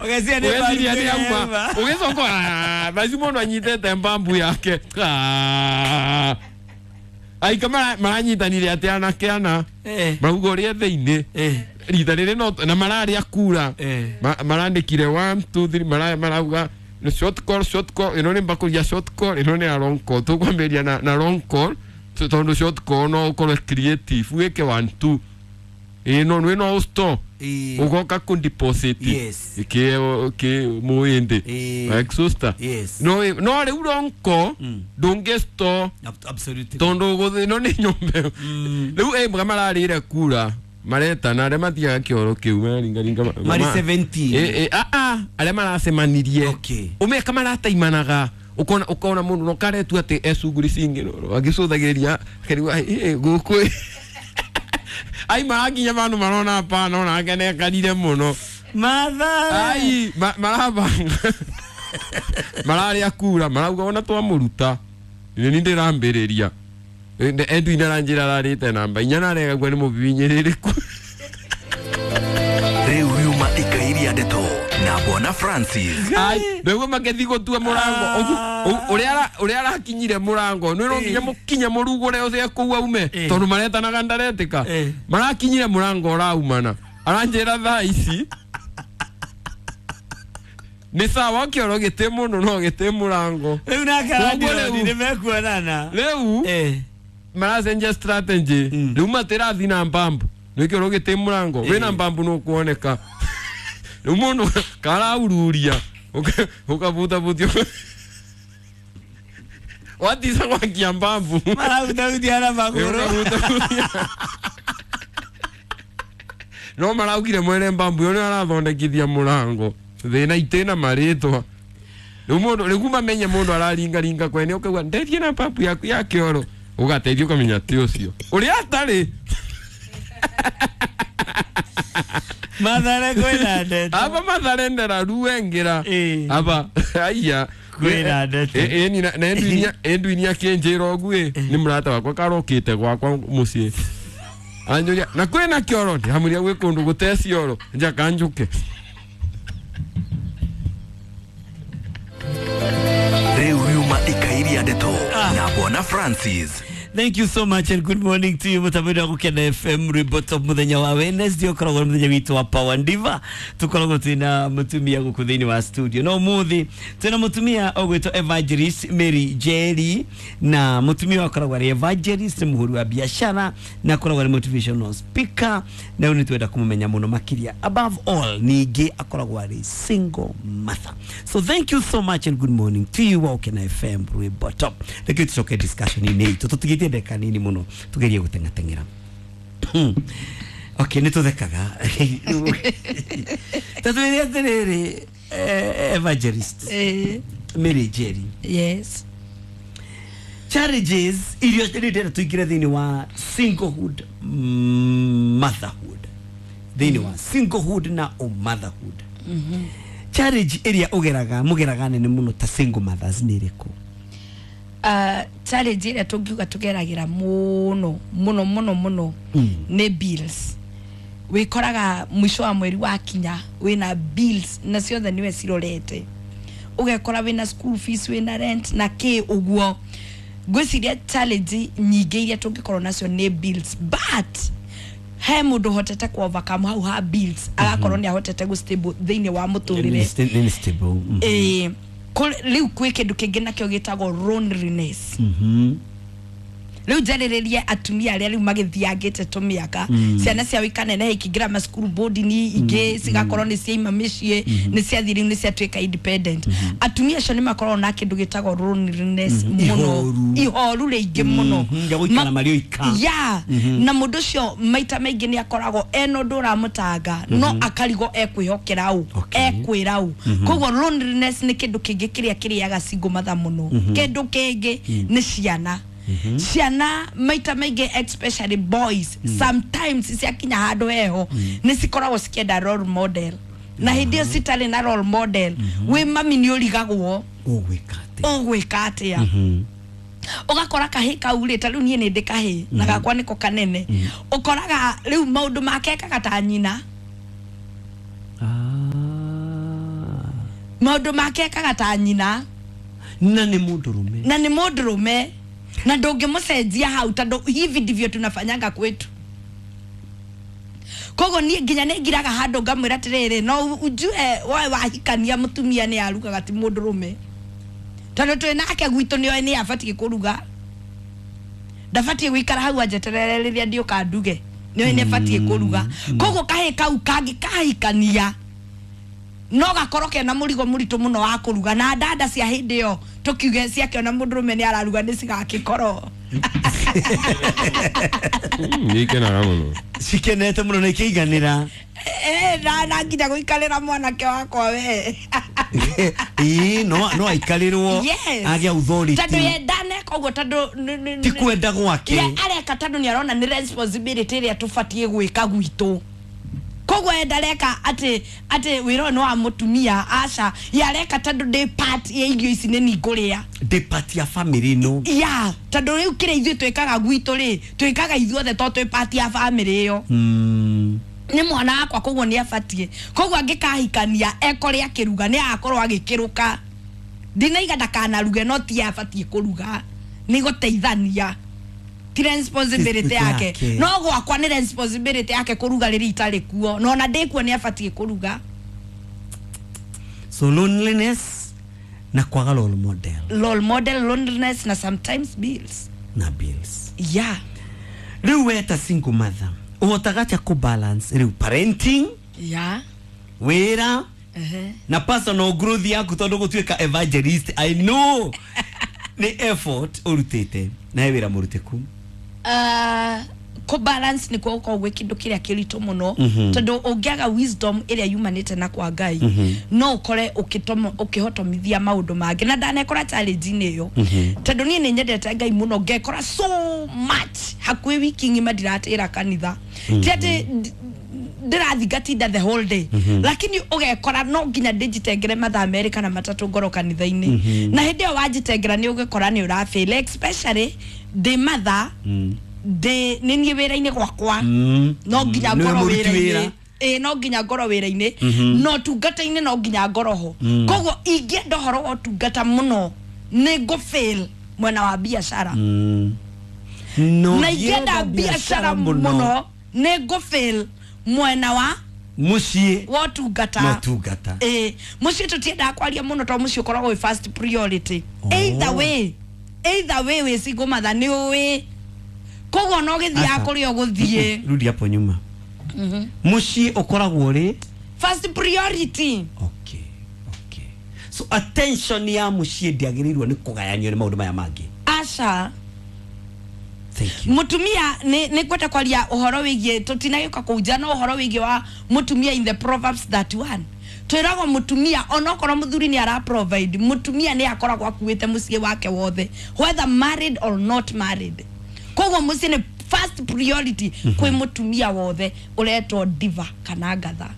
Ũgeciria nĩ Ũgeciria nĩ mbambu auma ĩrema. ũgĩcoka thaa mũndũ anyitĩte mbambu yake. Ah. Aika maranyitanire atĩ anake ana marauga ũrĩa thĩinĩ rita rĩrĩ no na mararĩa kura. Marandĩkire 1 2 3, marauga nĩ short call, short call, ĩno nĩ mbakũri ya short call, ĩno nĩ ya long call. Tũkwambĩrĩria na long call tondũ short call no ũkorwo creative, wĩke 1 2, ĩno nĩ no store ugoka ku deposit ki ki muindi exhauster. No no riu ronko ndungi store. Tondu guthi no ni nyumba riu mga mararire kura maretana aria matigaga kioro kiu mararingaringa Mari 17. A a aria maracemanirie. Umeka marataimanaga, ukona ukona mundu no karetu ati ecunguri cingĩ agĩcũthagĩrĩria akĩrigwo gũkũ ai marakinya vandu marona hapana ona akenekanire muno. Mathare. Ai marabanga mararĩa kura marauga ona twamũruta nĩ ni ndĩrambĩrĩria. Edwin aranjĩra ararĩte namba inya narega gwe nĩ mũbibinyĩrĩrĩku. Rĩu riuma ikairia ndeto na Bwana Francis. Ai nĩguo makethi gũtua mũrango. Ũrĩa arakinyire mũrango nĩ no nginya mũkinye mũrugũre ũcio kũu aume tondũ maretanaga ndaretĩka. Marakinyire mũrango ũraumana aranjĩra thaa ici nĩ sawa kĩoro gĩtĩ mũno no gĩtĩ mũrango. Rĩu nake Koguo arandironi nĩ mekuonana. Rĩu maracenjia strategy. Rĩu matĩrathi na mbambu nĩ kĩoro gĩtĩ mũrango wĩna mbambu nũkuoneka rĩu mũndũ karaururia ũkabutabutia watisa gwakia mbambu. Marabutabutia na magũrũ. Ũkabutabutia. No maraugire mwene mbambu ĩyo nĩ arathondekithia mũrango thĩna itĩna marĩtwa rĩu mũndũ rĩu mamenye mũndũ araringaringa kwene ũkaigua ndeithie na mbambu yaku ya kĩoro ũgateithio ũkamenya ti ũcio ũrĩa atarĩ. Mathare kwĩna ndeto. Aba Mathare ndararuengera. Aba aya Kwĩna ndeto. Ĩni na Edwin akĩnjĩra ũguo ĩ nĩ mũrata wakwa karokĩte gwakwa mũciĩ anjũria na kwĩna kĩoro ndĩramwĩra gwĩ kũndũ gũte cioro njaka njũke. Rĩu riuma ikairia ndeto na Bwana Francis. Thank you so much and good morning to you mutabiri wa Gukena FM rwimbo top muthenya wa Wednesday ukoragwo nĩ muthenya witũ wa Power Diva tukoragwo twina mutumia guku thiini wa studio no muthi twina mutumia ũgwĩtwo Evangelist Mary Njeri na mutumia akoragwo arĩ evangelist nĩ mũhũri wa biashara na akoragwo arĩ motivational speaker na rĩu nĩ twenda kũmũmenya mũno makĩria above all ningĩ akoragwo arĩ single mother. So thank you so much and good morning to you wa Gukena FM rwimbo top. Reke tucoke discussion-inĩ itũ tũtigĩtie ndagĩka nini mũno tugerie gũteng'ateng'era. Okay, nĩ tũthekaga ta twĩre atĩrĩrĩ, evangelist Mary Njeri. Yes. Challenges iria rĩu ndĩrenda tũingĩre thĩinĩ wa singlehood, motherhood, thĩinĩ wa singlehood na motherhood. Challenge ĩrĩa ũgeraga mũgeraga nene mũno ta single mothers nĩ ĩrĩkũ? Challenge ĩrĩa tũngiuga tũgeragĩra mũno mũno mũno mũno nĩ bills. Wĩkoraga mũico wa mweri wakinya wĩna bills na ciothe nĩwe cirorete, ũgekora wĩna school fees, wĩna rent na kĩ ũguo. Ngwĩciria challenge nyingĩ iria tũngĩkorwo nacio nĩ bills, but he mũndũ ũhotete ku overcome hau ha bills agakorwo nĩ ahotete gũ stable thĩinĩ wa mũtũrĩre. Nĩ stable. Rĩu kwĩ kĩndũ kĩngĩ nakĩo gĩtagwo loneliness. Rĩu njarĩrĩrie atumia arĩa rĩu magĩthiangĩte tũmĩaka ciana ciao ikaneneha ikĩingĩra macukuru boarding ingĩ cigakorwo nĩ ciaima mĩciĩ nĩ ciathiĩ rĩu nĩ ciatuĩka independent. Atumia acio nĩ makoragwo na kĩndũ gĩtagwo loneliness mũno. Ihoru. Ihoru rĩingĩ mũno. Ya gũikara marĩ oika. Ya na mũndũ ũcio maita maingĩ nĩ akoragwo ena ũndũ ũramũtanga no akarigwo ekwĩhokera ũ ekwĩra ũ. Koguo loneliness nĩ kĩndũ kĩngĩ kĩrĩa kĩrĩaga single mother mũno. Kĩndũ kĩngĩ nĩ ciana. Ciana maita maingĩ especially boys sometimes ciakinya handũ heho nĩ cikoragwo cikĩenda role model na hĩndĩ ĩyo citarĩ na role model wĩ mami nĩ ũrigagwo Ũgwĩka atĩa? Ũgwĩka atĩa. Ũgakora kahĩ kau rĩ ta rĩu niĩ nĩ ndĩ kahĩ na gakwa nĩko kanene ũkoraga rĩu maũndũ make ekaga ta nyina. Maũndũ make ekaga ta nyina. Na nĩ mũndũrũme. Na nĩ mũndũrũme. Na ndũngĩmũcenjia hau tondũ hivi ndivyo tunafanyanga kwetu. Koguo niĩ nginya nĩ ngiraga handũ ngamwĩra atĩrĩrĩ, no ujue woe wahikania mũtumia nĩ arugaga ti mũndũrũme. Tondũ twĩ nake gwitũ nĩoĩ nĩ abatiĩ kũruga. Ndabatiĩ gũikara hau anjeterere rĩrĩa ndiũka nduge. Nĩoĩ nĩ abatiĩ kũruga. Koguo kahĩ kau kangĩ kahikania no gakorwo kena mũrigo mũritũ mũno wa kũruga, na dada cia hĩndĩ ĩyo tũkiuge ciakĩona mũndũrũme nĩ araruga nĩ cigakĩkorwo. Nikenaga mũno. Cikenete mũno na ikĩiganĩra. Na nginya gũikarĩra mwanake wakwa we. Ĩĩ, no aikarĩrwo. Yes. Agĩa authority. Tondũ ye ndaneka ũguo tondũ ti kwenda gwake. Ye areka tondũ nĩ arona nĩ responsibility ĩrĩa tũbatiĩ gwĩka gwitũ. Koguo ye ndareka atĩ wĩra ũyũ nĩ wa mũtumia, aca. Ye areka tondũ ndĩ part ya irio ici nĩ niĩ ngũrĩa. Ndĩ part ya family ĩno. Ya, tondũ rĩu kĩrĩa ithuĩ twĩkaga gwitũ rĩ, twĩkaga ithuothe tondũ twĩ part ya family ĩyo. Nĩ mwana wakwa koguo nĩ abatiĩ. Koguo angĩkahikania ekore akĩruga nĩ agakorwo agĩkĩrũka. Ndinaiga ndakanaruge no ti abatiĩ kũruga. Nĩ gũteithania. Ti responsibility yake. No gwakwa nĩ responsibility yake kũruga rĩrĩa itarĩ kuo. No ona ndĩ kuo nĩ abatiĩ kũruga. So loneliness na kwaga role model. Role model, loneliness na sometimes bills. Na bills. Yeah. Rĩu we ta single mother, ũhotaga atĩa kũ balance rĩu parenting? Yeah. Wĩra? Na personal growth yaku tondũ gũtuĩka evangelist, I know nĩ effort ũrutĩte na he wĩra mũrutĩku. Kũ balance nĩ kuo gũkoragwo gwĩ kĩndũ kĩrĩa kĩritũ mũno, tondũ ũngĩaga wisdom ĩrĩa yumanĩte na kwa Ngai, no ũkore ũkĩhotomithia maũndũ mangĩ. Na ndanekora challenge-inĩ ĩyo, tondũ niĩ nĩ nyendete Ngai mũno, ngekora so much hakuhĩ wiki ng'ima ndiratĩra kanitha. Ti atĩ ndĩrathingatinda the whole day, lakini ũgekora no nginya ndĩnjitengere mathaa merĩ kana matatũ ngorwo kanitha-inĩ. Na hĩndĩ ĩyo wanjitengera nĩ ũgĩkora nĩ ũrafail, especially ndĩ mother, ndĩ nĩ niĩ wĩra-inĩ gwakwa, no nginya ngorwo wĩra-inĩ. No nginya ngorwo wĩra-inĩ, no ũtungata-inĩ no nginya ngorwo ho. Koguo ingĩenda ũhoro wa ũtungata mũno nĩ ngũfail mwena wa biacara. Na ingĩenda biacara mũno nĩ ngũfail mwena wa mũciĩ wa ũtungata. Ũtungata. Mũciĩ tũtiendaga kwaria mũno tondũ mũciĩ ũkoragwo wĩ first priority. Either way wĩ single mother nĩ ũĩ. Koguo no gĩthiaga kũrĩa ũgũthiĩ. Rudi hapo nyuma. Mũciĩ ũkoragwo ũrĩ first priority. Okay. Okay. So attention ya mũciĩ ndĩagĩrĩirwo nĩ kũgayanio nĩ maũndũ maya mangĩ. Aca. Thank you. Mutumia nĩ ngwenda kwaria ũhoro wĩgiĩ tũtinagĩũka kũu nja, no ũhoro wĩgiĩ wa mutumia in the Proverbs 31. Twĩragwo mutumia onokorwo mũthuri nĩ ara provide, mutumia nĩ akoragwo akuĩte mũciĩ wake wothe, whether married or not married. Koguo mũciĩ nĩ first priority kwĩ mutumia wothe ũretwo diva kana ngatha.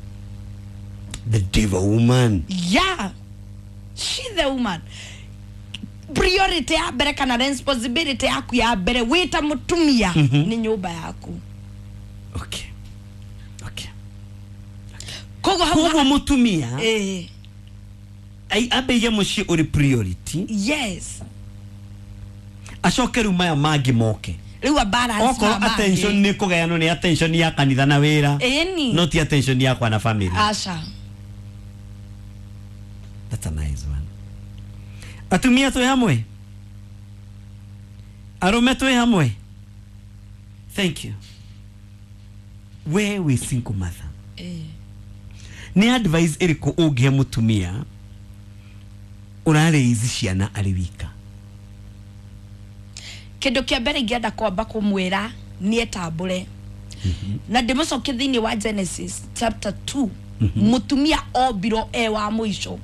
The diva woman. Yeah. She the woman. Priority ya mbere kana responsibility yaku ya mbere wita mutumia ni nyumba yaku. Okay. Okay. Koguo mutumia ambe muciĩ ũrĩ priority. Yes. Acoke rĩu maya mangĩ moke. Rĩu a balance. Okorwo attention nĩ kũgayanwo nĩ attention ya kanitha na wĩra. No ti attention yakwa na family. Aca. That's a nice one. Atumia twĩ hamwe, arũme twĩ hamwe. Thank you. We wĩ single mother. Nĩ advice ĩrĩkũ ũngĩhe mũtumia ũrarĩizi ciana arĩ wika? Kĩndũ kĩa mbere ingĩenda kwamba kũmwĩra nĩ etambũre. Na ndĩmũcokie thĩinĩ wa Genesis chapter 2. Mũtumia ombirwo e wa mũico.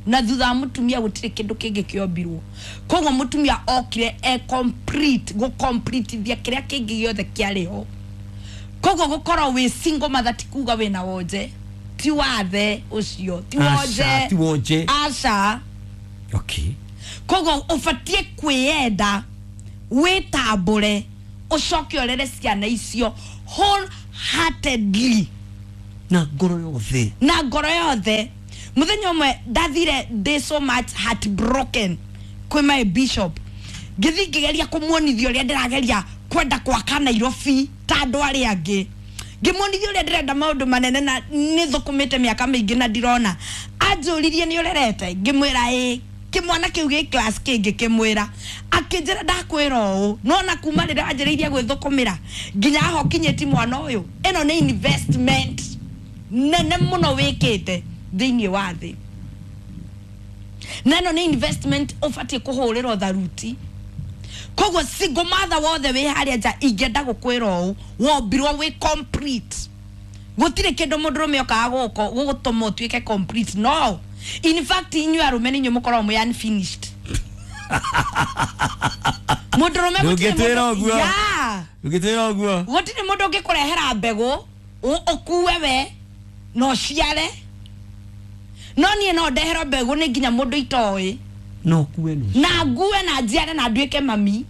Na thutha wa mutumia gutire kindu kingi kiombirwo. Koguo mutumia okire e complete, go complete thia kiria kingi giothe kiari ho. Koguo gukorwo wi single mother ti kuga wina wonje, ti wathe ucio, ti wonje, ti wonje. Aca. Okay. Koguo ubatie kwiyenda, witambure, ucoke urere ciana icio wholeheartedly. Na ngoro yothe. Na ngoro yothe. Muthenya ũmwe ndathire ndĩ so much heartbroken kwĩ my bishop, ngĩthiĩ ngĩgeria kũmuonithia ũrĩa ndĩrageria kwenda gwaka Nairobi ta andũ arĩa angĩ, ngĩmuonithia ũrĩa ndĩrenda maũndũ manene na nĩ thũkũmĩte mĩaka mĩingĩ na ndirona. Anjũririe nĩ ũrerete, ngĩmwĩra ĩĩ. Kĩmwana kĩu gĩ class kĩngĩ kĩmwĩra, akĩnjĩra ndakwĩra ũũ, nona kuma rĩrĩa wanjĩrĩirie gwĩthũkũmĩra nginya haha ũkinyĩti mwana ũyũ, ĩno nĩ investment nene mũno wĩkĩte thĩinĩ wa thĩ, na ĩno nĩ investment ũbatiĩ kũhũrĩrwo tharuti. Koguo single mother wothe wĩ harĩa nja, ingĩenda gũkwĩra ũũ, wombirwo wĩ complete. Gũtirĩ kĩndũ mũndũrũme okaga gũkũ gũgũtũma ũtuĩke complete. No in fact inyuĩ arũme nĩ inyuĩ mũkoragwo mwĩ unfinished. Mũndũrũme gũtirĩ Ndũngĩtwĩra mũndũ- ũguo. Yeah. Ũngĩtwĩra ũguo. Gũtirĩ mũndũ ũngĩkũrehera mbegũ ũkue we na ũciare, no niĩ no ndeherwo mbegũ nĩ nginya mũndũ itoĩ No kuwe no. na ngue na njiare na nduĩke mami.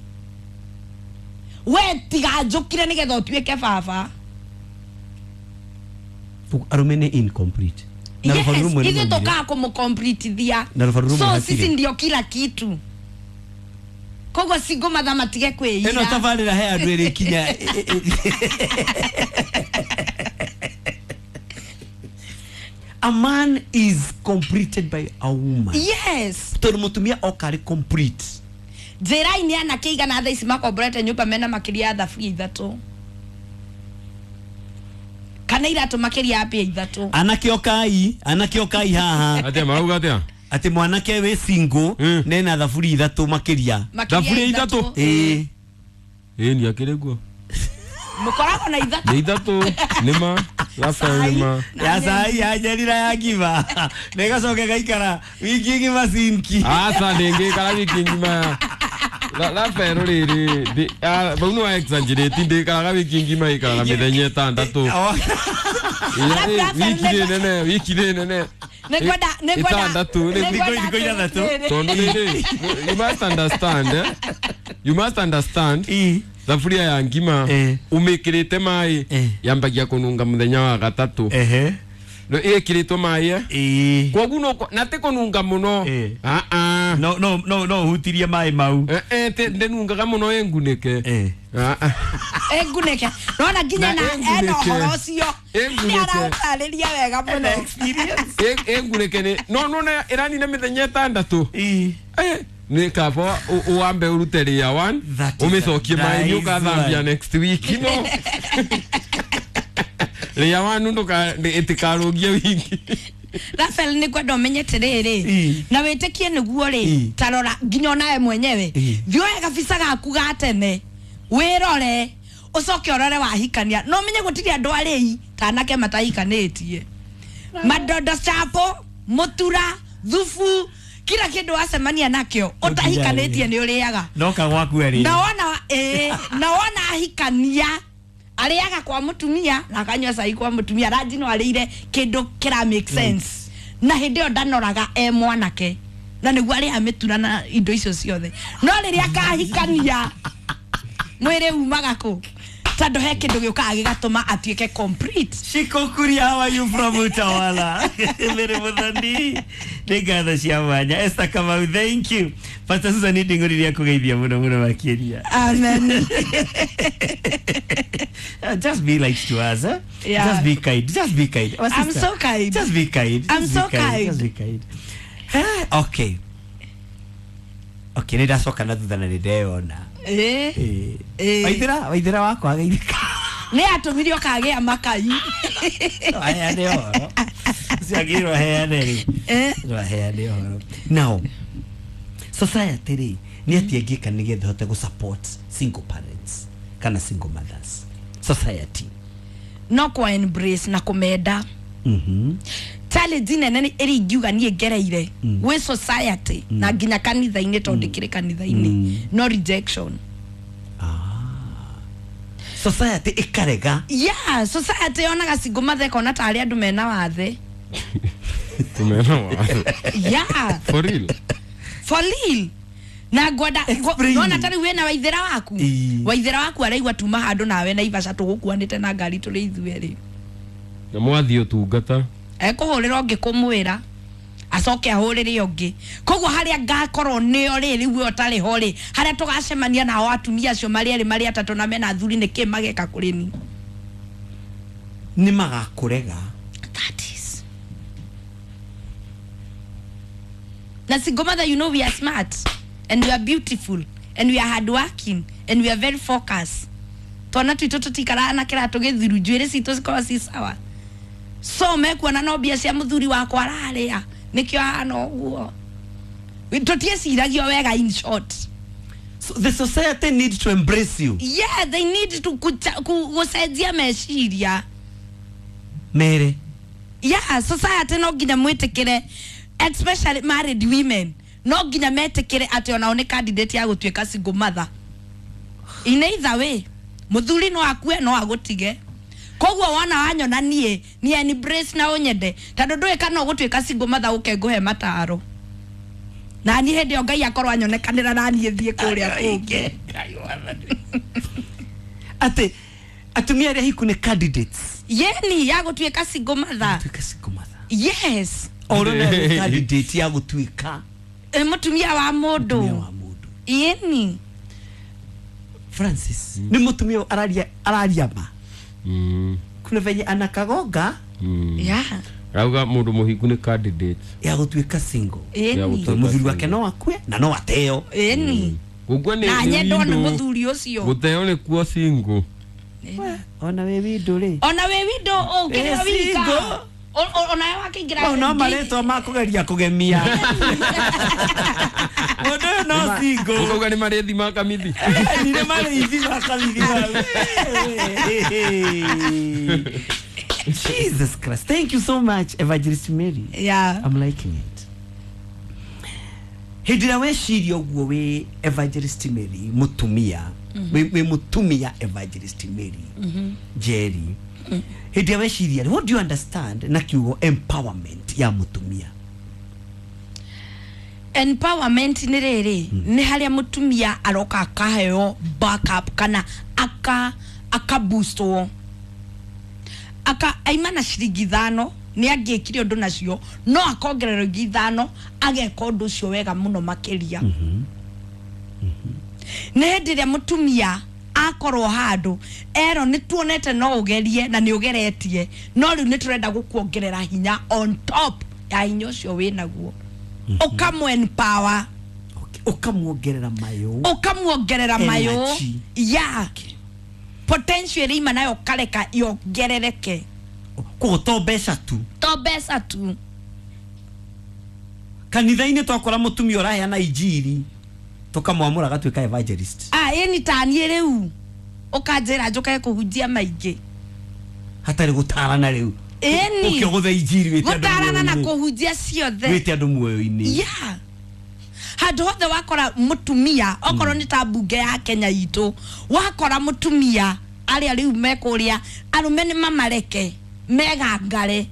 We tiga njũkire nĩgetha ũtuĩke baba. Arũme nĩ incomplete. Na Yes, rũbaru rũmwe nĩ ithuĩ mwaugire. tũkaga kũmũcompletithia. Na rũbaru rũmwe So hatirĩ. sisi ndio kila kitu. Koguo single mother matige Ĩno kwĩira. tabarĩra he andũ ĩrĩkinya. A man is completed by a woman. Yes. Tondũ mũtumia oka arĩ complete. Njĩra-inĩ anake igana thaa ici makomborete nyũmba mena makĩria ya thaburia ithatũ kana iratũ makĩria ya mbia ithatũ. Anake okai, anake okai haha. Atia marauga atia? Atĩ mwanake wĩ single nena thaburia ithatũ makĩria. Makĩria Thaburia ithatũ? Ĩĩ. Ĩĩ ni akĩrĩ guo. Mũkoragwo na ithatũ. Nĩ ithatũ nĩ ma Rafael nĩ ma. Ya cai ya njerira ya ngima na ĩgacoka ĩgaikara wiki ng'ima sinki. Aca ndĩngĩikara wiki ng'ima. Rafael rĩrĩ bau nĩ wa exaggerate, ndĩikaraga wiki ng'ima, ĩikaraga mĩthenya ĩtandatũ. Rafael Wiki nĩ nene, wiki nĩ nene. Nĩngwenda Ĩtandatũ nĩ nĩngwenda Thikũ ithathatũ. atĩrĩrĩ. Tondũ rĩrĩ, you must understand, eh? You must understand. Ĩ. Thaburia ya ngima umĩkĩrĩte maĩ yambagia kũnunga mũthenya wa gatatũ. Ehe. No ĩkĩrĩtwo maĩ eh? Ĩĩ. Kwoguo no na ti kũnunga mũno. Ah ah. No no no no hutirie maĩ mau. Eh eh ndĩnungaga mũno ĩngunĩke. Ah ah. Ĩngunĩke. Nona nginya Na na ena ĩngunĩke. ũhoro ũcio. Ĩngunĩke. Nĩ araũtarĩria wega mũno. Ĩngunĩke nĩ no nona ĩranina mĩthenya ĩtandatũ. Ĩĩ. Nĩ kaba uambe urute ria one That is a umicokie maĩ nice ũkathambia one. next week no ria one nduka ĩtikarũgie wiki. Rafael nĩ kwenda ũmenye atĩrĩrĩ na wĩtĩkie nĩguo rĩ, ta rora nginya onawe mwenyewe, thiĩ oe gabica gaku ga tene wĩrore ũcoke ũrore wahikania, no ũmenye gũtirĩ andũ arĩi ta anake matahikanĩtie, madondo chapo mũtura thubu kila kĩndũ wacemania nakĩo ũtahikanĩtie nĩ ũrĩaga. Noka gwaku arĩ. Na wona na wona ahikania arĩaga kwa mũtumia na akanyua cai kwa mũtumia, ranji no arĩire kĩndũ kĩra make sense, na hĩndĩ ĩyo ndanoraga e mwanake na nĩguo arĩaga mĩtura na indo icio ciothe, no rĩrĩa akahikania mwĩrĩ umaga kũ tondũ he kĩndũ gĩũkaga gĩgatũma atuĩke complete. Shikokuria, how are you from Utawala? Mere Muthoni. Nĩ ngatho cia mwanya. Esther Kamau, thank you. Pastor Susan nĩ ndingũriria kũgeithia mũno mũno makĩria. Amen. Just be like to us, eh? Yeah. Just be kind. Just be kind. Our I'm sister, so kind. Just be kind. I'm Just so be kind. kind. Just be kind. Okay. Okay, nĩ ndacoka na thutha na nĩ ndeyona. Waithĩra, waithĩra wakwa ageithĩka. Nĩ atũmire ũkagĩa makai. Aheane ũhoro. Ũcio agĩrwo aheane rĩ. No aheane ũhoro. Now, society rĩ, nĩ atĩa ĩngĩka nĩgetha ĩhote gũ support single parents kana single mothers? Society. No kwa embrace na kũmenda. Challenge nene ĩrĩa ingiuga niĩ ngereire gwĩ society na nginya kanitha-inĩ tondũ ndĩkĩrĩ kanitha-inĩ, no rejection. Society ĩkarega. Yeah, society yonaga single mother ĩkona tarĩ andũ mena wathe. Tumena wathe. Yeah. For real. For real. Na ngwenda nona ta rĩu wĩna waithĩra waku. Waithĩra waku araigua tuma handũ nawe na Naivasha tũgũkuanĩte na ngari tũrĩ ithuerĩ. Na mwathiĩ ũtungata. Ekũhũrĩra ũngĩ kũmwĩra. Acoke ahũrĩre ũngĩ. Koguo harĩa ngakorwo nĩo rĩ rĩu we ũtarĩ ho rĩ, harĩa tũgacemania nao atumia acio marĩ erĩ marĩ atatũ na mena athuri nĩ kĩ mageka kũrĩ ni? Nĩ magakũrega. That is. Na single mother, you know we are smart and we are beautiful and we are hardworking and we are very focused. Twana twitũ tũtikaraga na kĩratũ gĩthiru, njuĩrĩ citũ cikoragwo ci sawa. So mekuona no mbia cia mũthuri wakwa ararĩa nĩkĩo ahana ũguo. Tũtieciragio wega in short. So the society needs to embrace you. Yeah, they need to gũcenjia meciria. Mere. Yeah, society no nginya mwĩtĩkĩre, especially married women, no nginya metĩkĩre atĩ onao nĩ candidate ya gũtuĩka single mother. In either way, mũthuri no akue no agũtige. Koguo wona wanyona niĩ ni embrace na ũnyende, tondũ ndũĩ kana ũgũtuĩka single mother ũke ngũhe mataro. Na niĩ hĩndĩ ĩyo Ngai akorwo anyonekanĩra na niĩ thiĩ kũrĩa kũngĩ. Atĩ atumia arĩa hiku nĩ candidates. Yeni ya gũtuĩka single mother. Gũtuĩka single mother. Yes. Oro nĩ candidate ya gũtuĩka mũtumia wa mũndũ. Mũtumia wa mũndũ. Yeni. Francis, nĩ mũtumia araria ma. Kuna venye anakagoga. Yeah. Rauga mũndũ mũhiku nĩ candidate ya gũtuĩka single. Yeni. Mũthuri wake no akue na no ateo. Yeni. Gũkua nĩ na nyendwo nĩ mũthuri ũcio. Gũteo nĩ kuo single. Ona wĩ window rĩ. Ona wĩ window ũngĩrĩa wika. Ona we wakĩingĩra. Mau no marĩtwa ma kũgeria kũgemia. Mũndũ ũyũ no single. Ũkauga nĩ marĩthi ma kamithi. Nĩ marĩthi ma kamithi. Jesus Christ. Thank you so much, Evangelist Mary. Yeah. I'm liking it. Hĩndĩ ĩrĩa weciria ũguo wĩ Evangelist Mary mũtumia, wĩ mũtumia Evangelist Mary Njeri, hĩndĩ ĩrĩa weciria, what do you understand na kiugo empowerment ya mũtumia? Empowerment nĩ rĩrĩ, nĩ harĩa mũtumia aroka akaheo backup kana aka boostwo. Aka aima na ciringi 5 nĩ angĩkire ũndũ nacio no akongerera ingĩ 5 ageka ũndũ ũcio wega mũno makĩria. Nĩ hĩndĩ ĩrĩa mũtumia akorwo handũ ero nĩ tuonete no ũgerie na nĩ ũgeretie no rĩu nĩ tũrenda gũkuongerera hinya on top ya hinya ũcio wĩnaguo. Ũkamũ empower. Ũkamuongerera mayo. Ũkamuongerera mayo. Yeah. Potential ĩrĩa ima nayo kareka yongerereke. Koguo to mbeca tu. To mbeca tu. Kanitha-inĩ twakora mũtumia ũraheana injiri tũkamwamũra agatuĩka evangelist. Ah, ĩni ta niĩ rĩu ũkanjĩra njũke kũhunjia maingĩ. Hatarĩ gũtarana rĩu. Ĩni. Ũkĩgũtha injiri wĩte andũ Gũtarana na muoyo-inĩ. kũhunjia ciothe. Wĩte andũ muoyo-inĩ. Yeah. Handũ hothe wakora mũtumia okorwo nĩ ta mbunge ya Kenya itũ, wakora mũtumia arĩa rĩu mekũrĩa arũme nĩ mamareke megangare.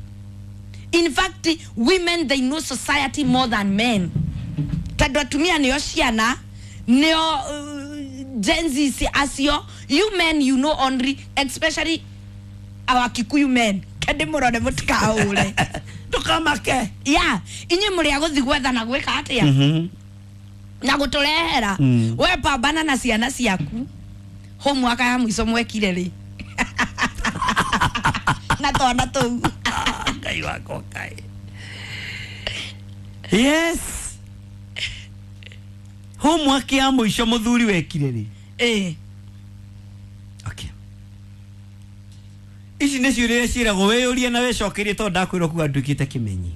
In fact, women they know society more than men. Tondũ atumia nĩo ciana, nĩo Gen Z acio, you men you know only, especially our Kikuyu men. Kende mũrore mũtikaũre. Ndũkamake. Yeah, inyuĩ mũrĩ a gũthiĩ gwetha na gwĩka atĩa? Na gũtũrehera. We pambana na ciana ciaku. Homework ya mũico mwekire rĩ? Na twana tũu. Ngai wakwa Ngai. Yes. Homework ya mũico mũthuri wekire rĩ? Okay. Ici nĩ ciũria ciĩragwo wĩyũrie na wĩcokerie tondũ ndakwĩrwo kuga nduĩkĩte kĩmenyi.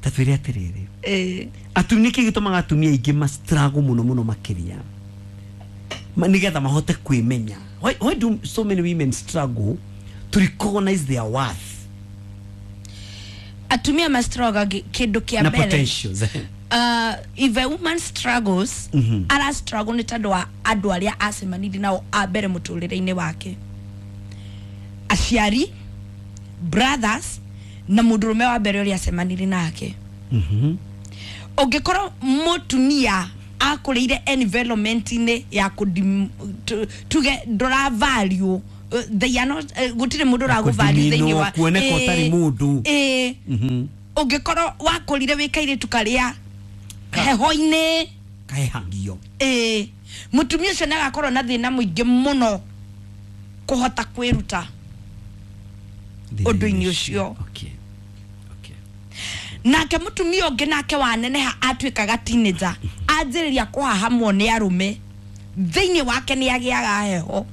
Ta twĩre atĩrĩrĩ. Atumia nĩkĩ gĩtũmaga atumia aingĩ ma struggle mũno mũno makĩria nĩgetha mahote kwĩmenya? Why do so many women struggle to recognize their worth? Atumia ma struggle kĩndũ kĩa na mbere. Potentials. If a woman struggles, ara struggle nĩ tondũ wa andũ arĩa acemanirie nao a mbere mũtũrĩre-inĩ wake. Aciari, brothers na mũndũrũme wa mbere ũrĩa acemanirie nake. Ũngĩkorwo mũtumia akũrĩire environment-inĩ ya tuge ndũra value, they are not, gũtirĩ mũndũ ũragũ value thĩinĩ wa kuoneka ũtarĩ mũndũ. Ũngĩkorwo wakũrire wĩ kairĩtu karĩa heho-inĩ Kahehangio. Ĩĩ, mũtumia ũcio nĩ agakorwo na thĩna mũingĩ mũno kũhota kwĩruta ũndũ-inĩ ũcio. Okay. Okay. Nake mũtumia ũngĩ nake waneneha atuĩkaga teenager, anjĩrĩria kũhahamwo nĩ arũme, thĩinĩ wake nĩ agĩaga heho.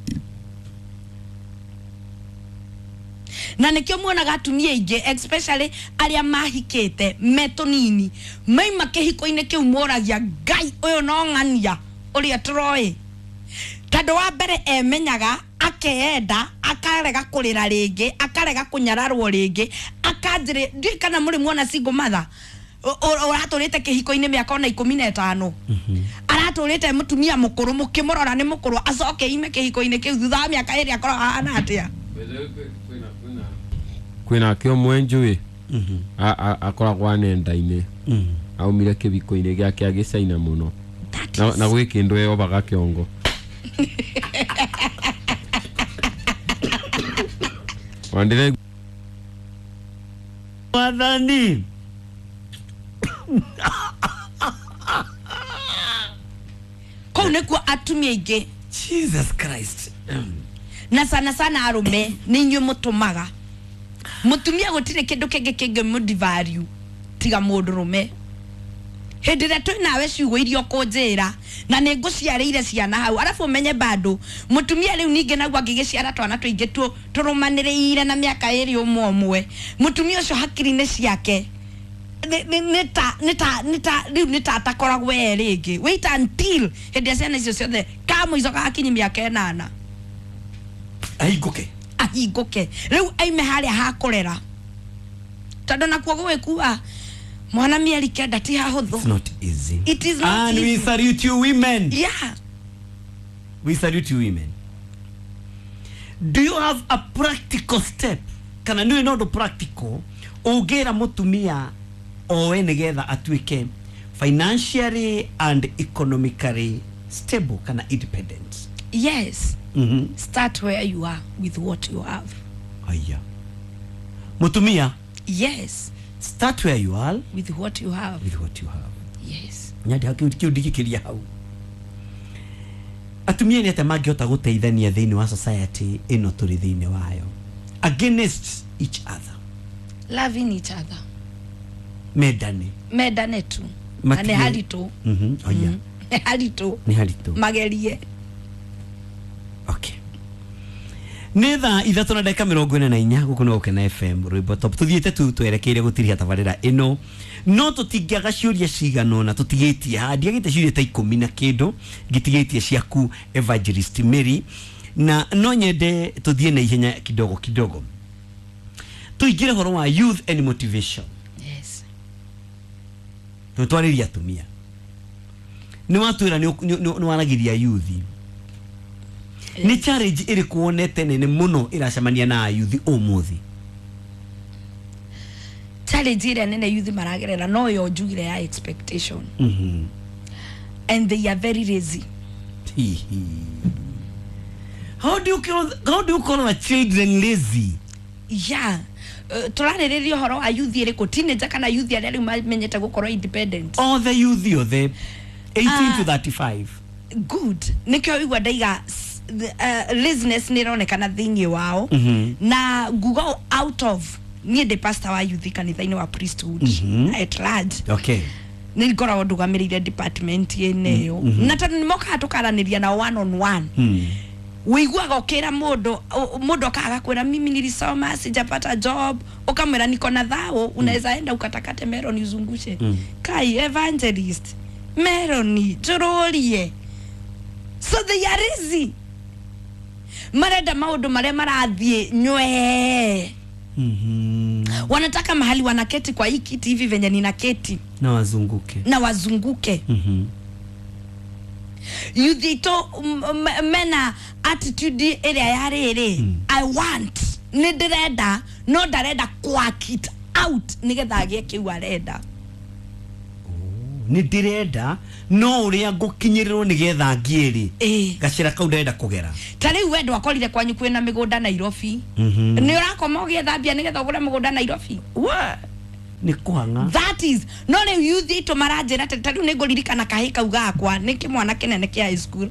Na nĩkĩo muonaga atumia aingĩ especially arĩa mahikĩte me tũnini maima kĩhiko-inĩ kĩu moragia Ngai ũyũ no ng'ania ũrĩa tũroĩ, tondũ wa mbere emenyaga akeenda akarega kũrĩra rĩngĩ, akarega kũnyararwo rĩngĩ, akanjĩrĩ ndiũĩ kana mũrĩ muona single mother ũratũrĩte kĩhiko-inĩ mĩaka ona 15, aratũrĩte mũtumia mũkũrũ, mũkĩmũrora nĩ mũkũrũ, acoke ime kĩhiko-inĩ kĩu thutha wa mĩaka ĩrĩ akorwo ahana atĩa? Kwĩna ake ũmwe njũĩ akoragwo nenda-inĩ, aumire kĩbiko-inĩ gĩake agĩcaina mũno na gwĩ kĩndũ eyobaga kĩongo. Wandĩre Mwathani. Kũu nĩkuo atumia aingĩ Jesus Christ. Na sana sana arũme nĩ inyuĩ mũtũmaga mũtumia gũtirĩ kĩndũ kĩngĩ kĩngĩmũdevalue tiga mũndũrũme. Hĩndĩ ĩrĩa twĩ nawe ciugo iria ũkũnjĩra na nĩ ngũciarĩire ciana hau, arabu ũmenye bado mũtumia rĩu ningĩ naguo angĩgĩciara twana tũingĩ tũrũmanĩrĩire na mĩaka ĩrĩ ũmwe ũmwe, mũtumia ũcio hakiri-inĩ ciake rĩu nĩ ta atakoragwo e rĩngĩ. Wait until hĩndĩ ĩrĩa ciana icio ciothe ka mũico gakinyi mĩaka 8 ahingũke, ahingũke rĩu aime harĩa hakũrera, tondũ nakuo gũgĩkua mwana mĩeri 9 ti hahũthũ. It's not easy. It is not and easy. We salute you women. Yeah. We salute you women. Do you have a practical step? Kana nĩ no ũndũ practical ũngĩra mũtumia oe nĩgetha atuĩke financially and economically stable kana independent? Yes. Start where you are with what you have. Aya. Mutumia. Yes. Start where you are with what you have. With what you have. Yes. Nyadi hakiudikiria hau. Atumia nĩ atĩa mangĩhota gũteithania thĩinĩ wa society ĩno tũrĩ thĩinĩ wayo against each other? Loving each other. Mendane. Mendane tu. Na nĩ haritũ. Oya. Nĩ haritũ. Nĩ haritũ. Magerie. Okay. Nĩ thaa 3:44 gũkũ nĩ Gũkena FM Rwĩmbo Top. Tũthiĩte tu twerekeire gũtiriha tabarĩra ĩno, no tũtingĩaga ciũria cigana ũna tũtigĩtie haha. Ndiagĩte ciũria ta 10 na kĩndũ, ngĩtigĩtie ciaku Evangelist Mary, na no nyende tũthiĩ na ihenya kidogo kidogo tũingĩre ũhoro wa youth and motivation. Yes. Tũtwarĩria atumia, nĩ watwĩra nĩ waragĩria youth. Nĩ challenge ĩrĩkũ wonete nene mũno ĩracemania na youth ũmũthĩ? Challenge ĩrĩa nene youth maragerera no yo njugire ya expectation. And they are very lazy. How do you call a children lazy? Yeah. Tũrarĩrĩria ũhoro wa youth ĩrĩkũ, teenager kana youth arĩa rĩu mamenyete gũkorwo independent? All the youth othe 18 to 35. Good. Nĩkĩo igua ndaiga laziness nĩ ĩronekana thĩinĩ wao. Na nguga out of niĩ ndĩ pastor wa youth kanitha-inĩ wa priesthood at large. Okay. Nĩ ngoragwo ndũgamĩrĩire department ĩno ĩyo, na tondũ nĩ mokaga tũkaranĩria nao one on one. Wĩiguaga ũkĩra mũndũ okaga kwĩra mimi nilisoma sijapata job, ukamwĩra niko na thao, unaweza enda ukatakate meloni uzungushe. Kai evangelist meloni njũrũrie. So they are lazy. Marenda maũndũ marĩa marathiĩ nywee. Wanataka mahali wanaketi kwa hii kiti hivi venye ninaketi na wazunguke. Na wazunguke. Youth ito mena attitude ĩrĩa ya rĩrĩ, I want, nĩ ndĩrenda, no ndarenda quack it out nĩgetha agĩe kĩu arenda. Nĩ ndĩrenda no ũrĩa ngũkinyĩrĩrwo nĩgetha ngĩrĩ gacĩra kau ndĩrenda kũgera. Ta rĩu we ndwakorire kwanyu kwĩna mĩgũnda Nairobi, nĩ ũrakoma ũgĩethambia nĩgetha ũgũre mũgũnda Nairobi? Wa Nĩ kũhang'a. That is no rĩu youth itũ maranjĩra atĩ ta rĩu nĩ ngũririkana kahĩ kau gakwa nĩ kĩmwana kĩnene kĩa high school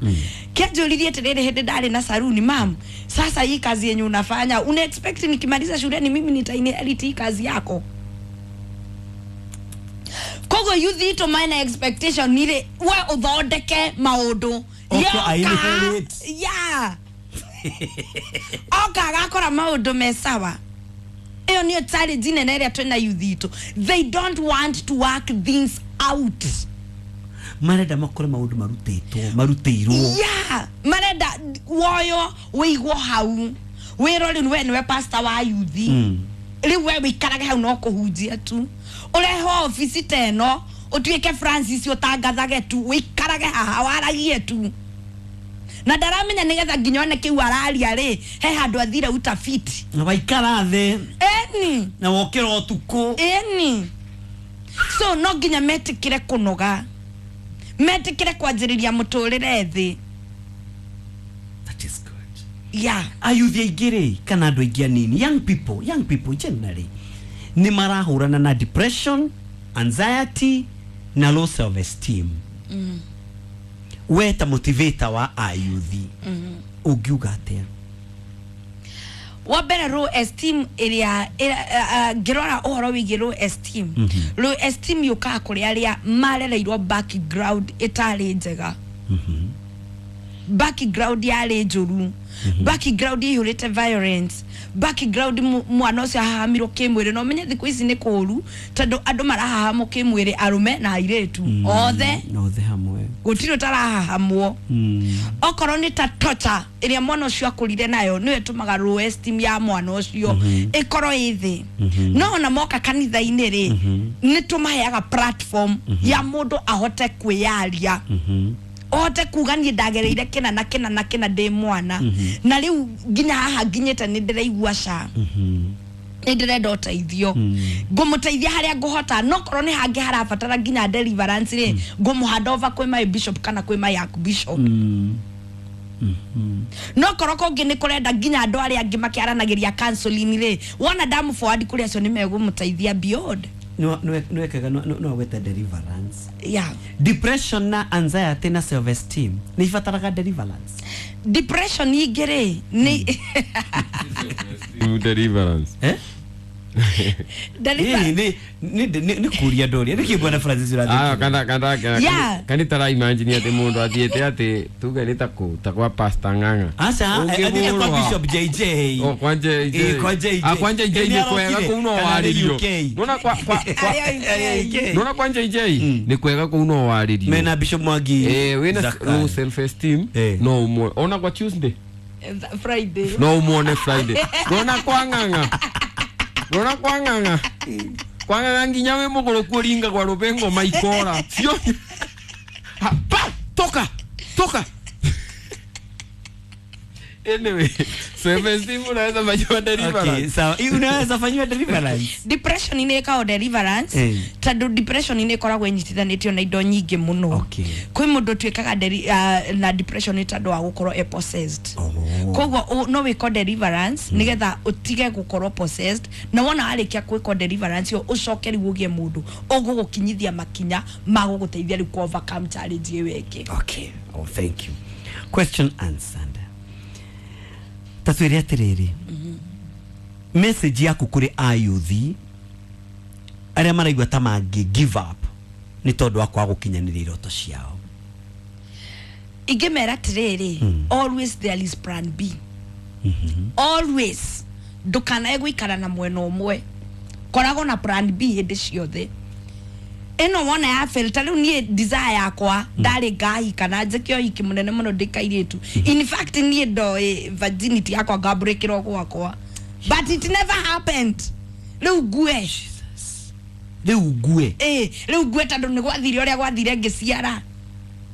kĩanjũririe atĩrĩrĩ hĩndĩ ndarĩ na saruni, mam, sasa hii kazi yenye unafanya una expect nikimaliza shuleni mimi nitainherit hii kazi yako? Koguo youth itũ mena expectation nĩ we ũthondeke maũndũ. Okay, I inherit. Yeah, oka agakora maũndũ me sawa. Ĩyo nĩyo challenge nene ĩrĩa twĩna youth itũ. They don't want to work things out. Marenda makore maũndũ marutĩtwo marutĩirwo. Yeah, marenda woyo wĩigwo hau wĩrwo rĩu we nĩwe pastor wa youth, rĩu we wĩikarage hau no kũhunjia tu, ũrehwo obici ta ĩno ũtuĩke Francis ũtangathage tu, wĩikarage haha waragie tu, na ndaramenya nĩgetha nginya one kĩu araria rĩ he handũ athire utafiti. Na waikara thĩ. Eni. Na wokĩra ũtukũ. Eni. So no nginya metĩkĩre kũnoga, metĩkĩre kwanjĩrĩria mũtũrĩre thĩ. That is good. Yeah. Ayuthi aingĩ rĩ kana andũ aingĩ anini, young people generally nĩ marahũrana na depression, anxiety na low self esteem. We ta motivator wa ayuthi ũngiuga atĩa? Wa mbere, low esteem ĩrĩa ngĩrora ũhoro wĩgiĩ low esteem, low esteem yũkaga kũrĩ arĩa marereirwo background ĩtarĩ njega, background yarĩ njũru, background ĩihũrĩte violence, background mwana ũcio ahahamirwo kĩmwĩrĩ. Na ũmenye thikũ ici nĩ kũũru tondũ andũ marahahamwo kĩmwĩrĩ, arũme na airĩtu othe. Othe hamwe. Gũtirĩ ũtarahahamwo. Okorwo nĩ ta torture ĩrĩa mwana ũcio akũrire nayo nĩyo ĩtũmaga low esteem ya mwana ũcio ĩkorwo ĩ thĩ. No ona moka kanitha-inĩ rĩ, nĩ tũmaheaga platform ya mũndũ ahote kwĩyaria, ũhote kuga niĩ ndagereire kĩna na kĩna na kĩna ndĩ mwana, na rĩu nginya haha nginyĩte nĩ ndĩraigua ca nĩ ndĩrenda ũteithio, ngũmũteithia harĩa ngũhota. No korwo nĩ hangĩ harabatara nginya deliverance rĩ, ngũmũhanda over kwĩ my bishop kana kwĩ my archbishop. No korwo kũngĩ nĩ kũrenda nginya andũ arĩa angĩ makĩaranagĩria counseling rĩ, wona ndamũ forward kũrĩ acio nĩ megũmũteithia beyond. Nĩwekaga no weta deliverance. Yeah. Depression na anxiety na self esteem nĩ ibataraga deliverance? Depression ingĩ rĩ nĩ Deliverance. Eh? Deliverance. Nĩ kũria ndoria nĩkĩ bwana Francis Ah, ũrathĩ. kana kana tara imagine atĩ mũndũ athiĩte atĩ tuge nĩ ta kũ ta kwa Pastor Ng'ang'a. Aca, athiĩte kwa Ũngĩhũrwo. Bishop JJ. Oh, kwa JJ. Eh, kwa JJ. Ah, kwa JJ Nĩ nĩ kwega arokire. kũu no Kana nĩ warĩrio. UK. Nona kwa Arĩa UK. nona kwa JJ nĩ kwega kũu no warĩrio. Mena Bishop Mwangi. Eh, wĩna Zakari. low self esteem no umwe ona kwa Tuesday Friday. No umuone Friday. Nona kwa Ng'ang'a. Nona kwa Ng'ang'a. Kwa Ng'ang'a nginya wĩ mũgũrũku ũringa gwa rũbengo maikora. Cio. Ha, pa, toka. Toka. Anyway, self esteem unaweza fanyiwa deliverance. Okay, sawa. Hii unaweza fanyiwa deliverance. Depression nĩ ĩkago deliverance tondũ depression nĩ ĩkoragwo ĩnyitithanĩtio na indo nyingĩ mũno. Kwĩ mũndũ ũtuĩkaga na depression nĩ tondũ wa gũkorwo e possessed. Koguo no wĩko deliverance nĩgetha ũtige gũkorwo possessed, na wona warĩkia gwĩkwo deliverance ĩyo ũcoke rĩu ũgĩe mũndũ ũgũgũkinyithia makinya ma gũgũteithia rĩu kũ overcome challenge ĩyo ĩngĩ. Okay. Oh, thank you. Question answered. Tatwĩre atĩrĩrĩ, message yaku kũrĩ ayuthi arĩa maraigua ta mangĩ give up nĩ tondũ wa kwaga gũkinyanĩria iroto ciao. Ingĩmera atĩrĩrĩ, always there is plan B, always. Ndũkanae gũikara na mwena ũmwe, koragwo na plan B hĩndĩ ciothe. Ĩno wona ya fail, ta rĩu niĩ desire yakwa ndarĩ ngahika na njĩke ũhiki mũnene mũno ndĩ kairĩtu. In fact, niĩ ndoĩ virginity yakwa ngambũrĩkĩrwo gwakwa, but it never happened. Rĩu ngue. Rĩu ngue. Ĩ, rĩu ngue tondũ nĩ gwathire ũrĩa gwathire ngĩciara.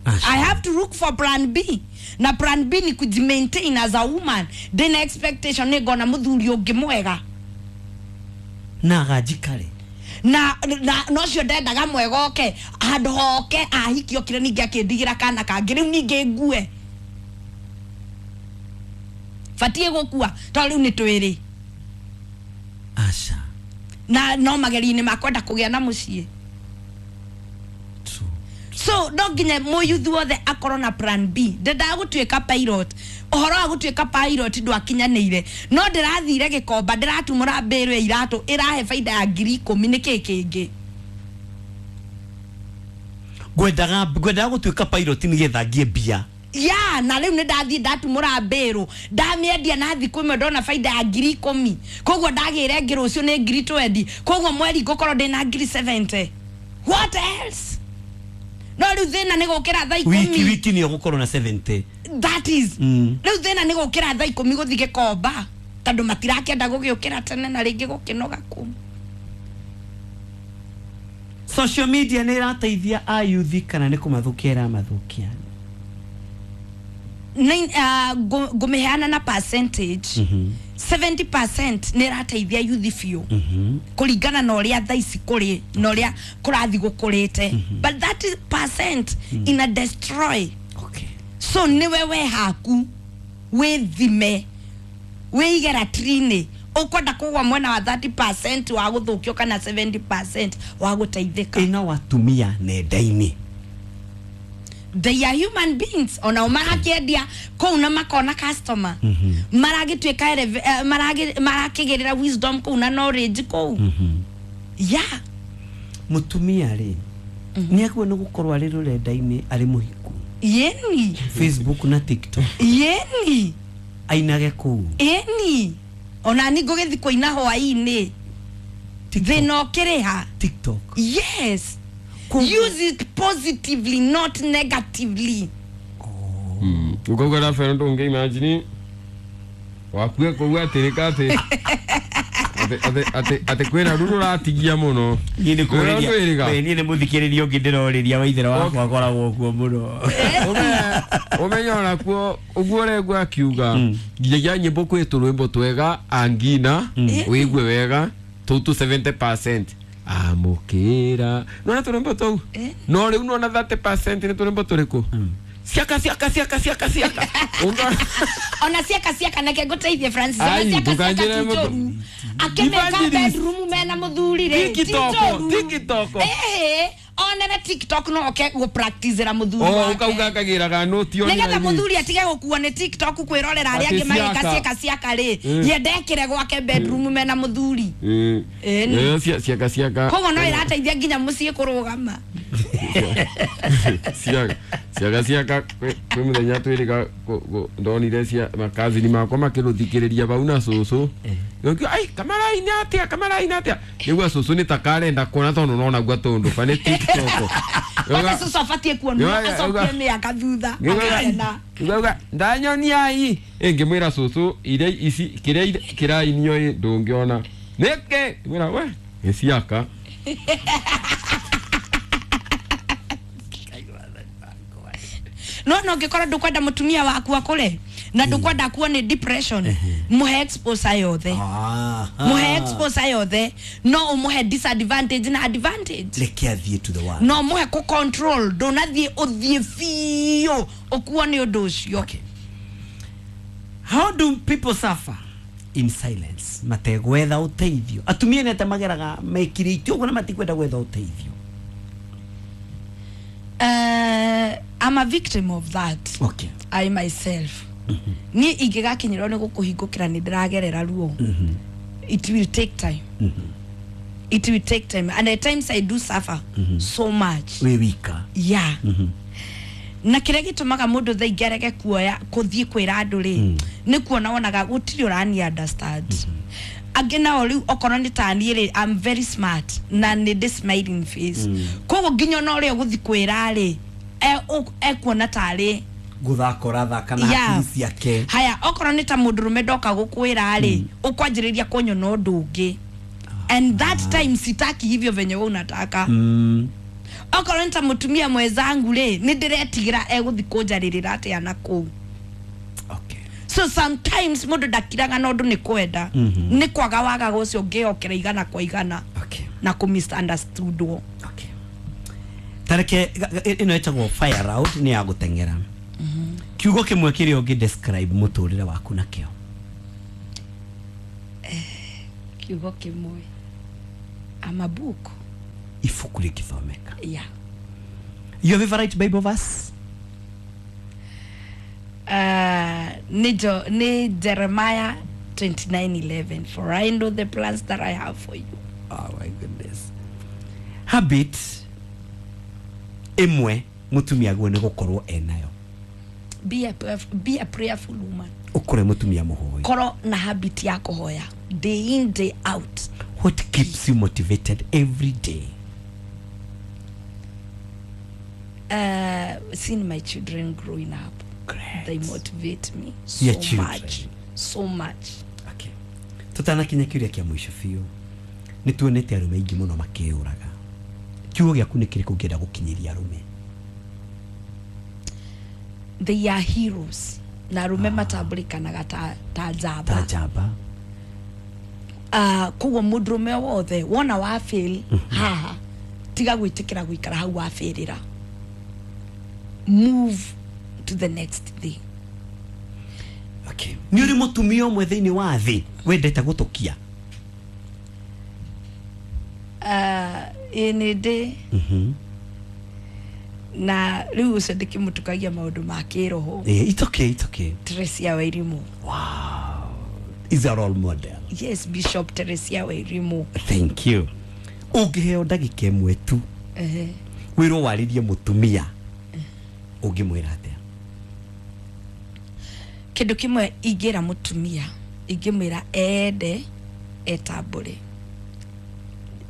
I have to look for plan B. Na plan B ni kujimaintain as a woman. Ndĩna expectation nĩ ngona mũthuri ũngĩ mwega. Na aganjikare. Na nocio ndendaga mwega oke handũ hoke ahiki okire ningĩ akĩndigĩra kana kangĩ, rĩu ningĩ ngue, batiĩ gũkua tondũ rĩu nĩ twĩrĩ. Aca. Na no magerio-inĩ ma kwenda kũgĩa na mũciĩ. So no nginya mũyuthi wothe akorwo na plan B. Ndendaga gũtuĩka pilot. Ũhoro wa gũtuĩka pilot ndwakinyanĩire, no ndĩrathire Gĩkomba, ndĩratumũra mbĩrũ ya iratũ ĩrahe baida ya 10,000. Nĩkĩ kĩngĩ? Ngwendaga gũtuĩka pilot nĩgetha ngie mbia. Ya, na rĩu nĩ ndathiĩ ndatumũra mbĩrũ, ndamĩendia na thikũ ĩmwe ndona baida ya 10,000. Koguo ndagĩre ngĩ rũciũ nĩ 20,000. Koguo mweri ngũkorwo ndĩna 70,000. What else? No rĩu thĩna nĩ gũkĩra thaa 10. Wiki nĩ ũgũkorwo na 70. That is. Rĩu thĩna nĩ gũkĩra thaa 10 gũthiĩ Gĩkomba, tondũ matirakĩenda gũgĩũkĩra tene na rĩngĩ gũkĩnoga kũu. Social media nĩ ĩrateithia ayuthi kana nĩ kũmathũkia ĩramathũkia? Ngũmĩheana na percentage. 70% nĩ ĩrateithia yuthi biũ, kũringana na ũrĩa thaa ici kũrĩ na ũrĩa kũrathiĩ gũkũrĩte. But that is percent ina destroy. Okay. So nĩwe we haku wĩthime, wĩige ratiri-inĩ, ũkwenda kũgwa mwena wa 30% wa gũthũkio kana 70% wa gũteithĩka. Ĩna watumia nenda-inĩ. They are human beings. Ona marakĩendia kũu na makona customer. Maragĩtuĩka marakĩgĩrĩra wisdom kũu na knowledge kũu. Yeah. Mũtumia rĩ, nĩ agĩrĩirwo nĩ gũkorwo arĩ rũrenda-inĩ arĩ mũhiku. Yeni. Facebook na TikTok. Yeni. Ainage kũu. Yeni. Ona ni ngũgĩthiĩ kũina hwaĩ-inĩ. Thĩna ũkĩrĩha. TikTok. Yes. Use it positively, not negatively. Ukauga Rafael ndũngĩ imagine wakue kũu atĩrĩka atĩ atĩ kwĩna ruru ratigia mũno. Niĩ nĩ kũrĩria. Niĩ nĩ mũthikĩrĩria ũngĩ ndĩrorĩria waithera wakwa akoragwo kuo mũno. Ũmenye onakuo ũguo ũregua akiuga nginyagia nyĩmbo kwĩ tũrwĩmbo twega angina wĩigue wega tũu tũ 70%. Amũkĩra nona tũrwĩmbo tũu, no rĩu nona 30% nĩ tũrwĩmbo tũrĩkũ? Ciaka ciaka ciaka ciaka ciaka. Ona ciaka ciaka nake ngũteithie Francis. Ona ciaka ciaka ti njũru. Akĩmeka bedroom mena mũthuri rĩ, ti njũru. TikTok. Ona na TikTok no oke gũ practice ra mũthuri wake. Ũkauga akagĩraga noti ona. Nĩgetha mũthuri atige gũkuo nĩ TikTok kwĩrorera arĩa angĩ magĩka ciaka ciaka rĩ, ye ndekĩre gwake bedroom mena mũthuri. Ciaka ciaka. Koguo no ĩrateithia nginya mũciĩ kũrũgama. Ciaka ciaka ciaka kwĩ mũthenya twĩrĩga ndonire cia makazini makwa makĩrũthikĩrĩria bau na cũcũ. Ngĩuga ai kamaraini atĩa kamaraini atĩa. Nĩguo cũcũ nĩ ta karenda kuona tondũ nona gua tũndũ ba nĩ TikTok. Kwani cũcũ abatiĩ kuonwo acokie mĩaka thutha akena. Ngauga ndanyonia ai ngĩmwĩra cũcũ iria ici kĩrĩa kĩrainio ĩ ndũngĩona. Nĩkĩ? Ngĩmwĩra we nĩ ciaka. No no ngĩkorwo ndũkwenda mũtumia waku akũre na ndũkwenda akuo nĩ depression, mũhe exposure yothe. Mũhe exposure yothe, no ũmũhe disadvantage na advantage. Reke athiĩ to the world. No mũhe kũ control, ndũnathiĩ ũthiĩ biũ ũkuo nĩ ũndũ ũcio. Okay. How do people suffer in silence? Mategwetha ũteithio. Atumia nĩ mageraga mekirĩte ũguo na matikwenda gwetha ũteithio. I'm a victim of that. Okay. I myself. Ni ingĩgakinyĩrwo nĩ gũkũhingũkĩra nĩ ndĩragerera ruo. It will take time. It will take time. And at times I do suffer so much. Wĩ wika. Yeah. Na kĩrĩa gĩtũmaga mũndũ thaa ingĩ arege kuoya kũthiĩ kwĩra andũ rĩ, nĩ kuona wonaga gũtirĩ ũrani understand. Angĩ nao rĩu okorwo nĩ ta niĩ rĩ, I'm very smart na nĩ ndĩ smiling face. Koguo nginya ona ũrĩa ũgũthiĩ kwĩra rĩ, ekuona tarĩ gũthaka ũrathaka na hakiri ciake. Haya, okorwo nĩ ta mũndũrũme ndoka gũkwĩra rĩ, ũkwanjĩrĩria kũnyona ũndũ ũngĩ. And that time sitaki hivyo venye wewe unataka. Okorwo nĩ ta mũtumia mwenzangu rĩ, nĩ ndĩretigĩra egũthiĩ kũnjarĩrĩra atĩa na kũu. Okay. So sometimes mũndũ ndakiraga na ũndũ nĩ kwenda. Nĩ kwaga wagaga ũcio ũngĩokera igana kwa igana. Okay. Na kũ misunderstood. Okay. Tareke ĩno ĩtagwo fire round nĩ ya gũteng'era. Kiugo kĩmwe kĩrĩa ũngĩ describe mũtũrĩre waku nakĩo. Kiugo kĩmwe. I'm a book. Ibuku rĩngĩthomeka. Yeah. Your favorite Bible verse? Ni Jeremiah 29:11, for I know the plans that I have for you. Oh my goodness. Habit ĩmwe mũtumia agwo nĩ gũkorwo enayo. Be a prayerful woman. Ũkore mũtumia mũhoi. Korwo na habit ya kũhoya day in day out. What keeps you motivated every day? Seeing my children growing up. Great. They motivate me so Your children. much. So much. Okay. Tutanakinya kiuria kia mwisho biũ. Nĩ tuonete arũme aingĩ mũno makĩyũraga. Kiugo gĩaku nĩ kĩrĩkũ ũngĩenda gũkinyĩria arũme? They are heroes. Na arũme matambũrĩkanaga ta njamba. Ta njamba. Koguo mũndũrũme wothe wona wa fail haha, tiga gwĩtĩkĩra gũikara hau wa failĩra. Move to the next thing. Okay. Nĩ ũrĩ mũtumia ũmwe thĩinĩ wa thĩ wendete gũtũkia? Ĩ nĩ ndĩ. Na rĩu ũcio ndĩkĩmũtukagia maũndũ ma kĩroho. It's okay, it's okay. Teresia Wairimu. Wow. Is a role model. Yes, Bishop Teresia Wairimu. Thank you. Ũngĩheo ndagĩka ĩmwe tu wĩrwo warĩrie mũtumia, ũngĩmwĩra atĩa? Kĩndũ kĩmwe ingĩra mũtumia, ingĩmwĩra ende etambũre.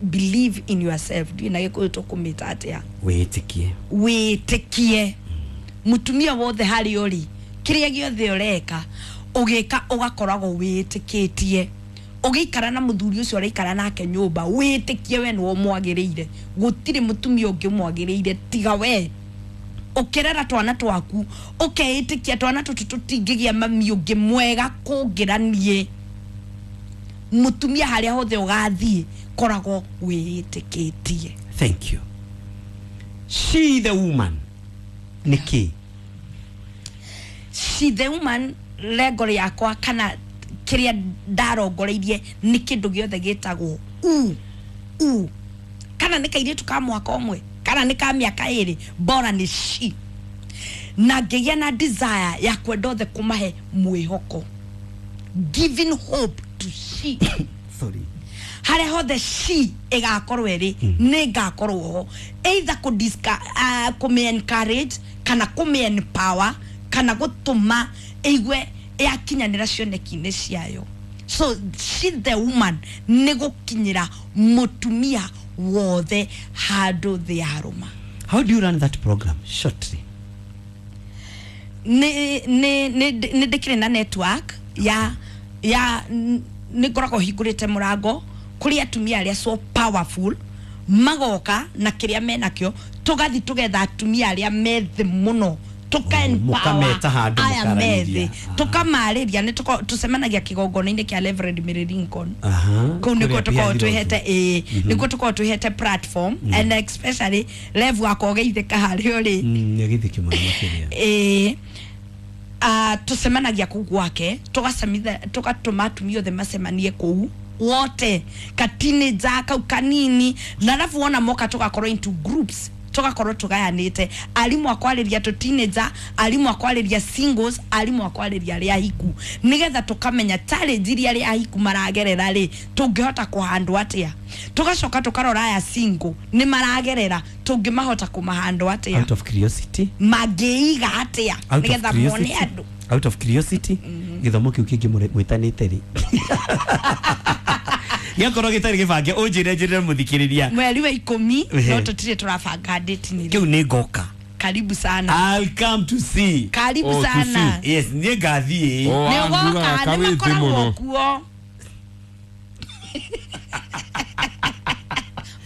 Believe in yourself. Ndiũĩ na Gĩkũyũ tũkũmĩta atĩa? Wĩĩtĩkie. Wĩĩtĩkie. Mũtumia wothe harĩa ũrĩ, kĩrĩa gĩothe ũreka, ũgĩka ũgakoragwo wĩĩtĩkĩtie. Ũgĩikara na mũthuri ũcio ũraikara nake nyũmba, wĩĩtĩkie we nĩwe ũmwagĩrĩire. Gũtirĩ mũtumia ũngĩ ũmwagĩrĩire tiga we. Ũkĩrera twana twaku, ũkeĩtĩkia twana tũtũ tũtingĩgĩa mami ũngĩ mwega kũngĩra niĩ. Mũtumia harĩa hothe ũgathiĩ, koragwo wĩĩtĩkĩtie. Thank you. She the woman nĩ kĩ? She the woman, lengo rĩakwa kana kĩrĩa ndarongoreirie nĩ kĩndũ gĩothe gĩtagwo u kana nĩ kairĩtu ka mwaka ũmwe kana nĩ ka mĩaka ĩrĩ, bora nĩ she. Na ngĩgĩa na desire ya kwenda othe kũmahe mwĩhoko, giving hope to she. Sorry. Harĩa hothe she ĩgakorwo ĩrĩ, nĩ ngakorwo ho, either kũmĩ encourage kana kũmĩ empower kana gũtũma ĩigue yakinyanĩra cioneki-inĩ ciayo. So she the woman nĩ gũkinyĩra mũtumia wothe handũ thĩ yarũma. How do you run that program shortly? Nĩ ndĩkĩrĩ na network ya nĩ ngoragwo hingũrĩte mũrango kũrĩ atumia arĩa so powerful, magoka na kĩrĩa menakĩo, tũgathi tũgetha atumia arĩa me thĩ mũno, mũkameta handũ aya me thĩ, mũkaranĩria. tũkamarĩria. Nĩ tũcemanagia kĩgongona-inĩ kĩa Reverend Mary Lincoln. Kũu nĩkuo Kũrĩa tũkoragwo Behind twĩhete, nĩkuo tũkoragwo twĩhete platform, and especially Rev wakwa ũgeithĩka harĩa ũrĩ. Nĩ agĩthĩkio mũno makĩria. Tũcemanagia kũu gwake, tũgatũma atumia othe macemanie kũu wote, ka teenager kau kanini, na arabu wona moka tũgakorwo into groups, tũgakorwo tũgayanĩte, arimũ akwarĩria tũ teenager, arimũ akwarĩria singles, arimũ akwarĩria arĩa ahiku, nĩgetha tũkamenya challenge iria arĩa ahiku maragerera rĩ, tũngĩhota kũhandwo atĩa. Tũgacoka tũkarora aya single nĩ maragerera, tũngĩmahota kũmahandwo atĩa. Out of curiosity, mangĩiga atĩa out of nĩgetha mone curiosity, andũ. out of curiosity, gĩthomo kĩu kĩngĩ mwĩtanĩte rĩ, gĩakorwo gĩtarĩ gĩbange, ũnjĩre njĩrĩre mũthikĩrĩria. Mweri wa 10 Ehe. no tũtirĩ tũrabanga date nĩ Kĩu nĩ ngoka. Karibu sana. I'll come to see. Karibu Oh, to sana. Yes, niĩ ngathiĩ. Oh, Nĩ angugaga ũgoka, nĩ kawĩthĩ makoragwo mũno. kuo.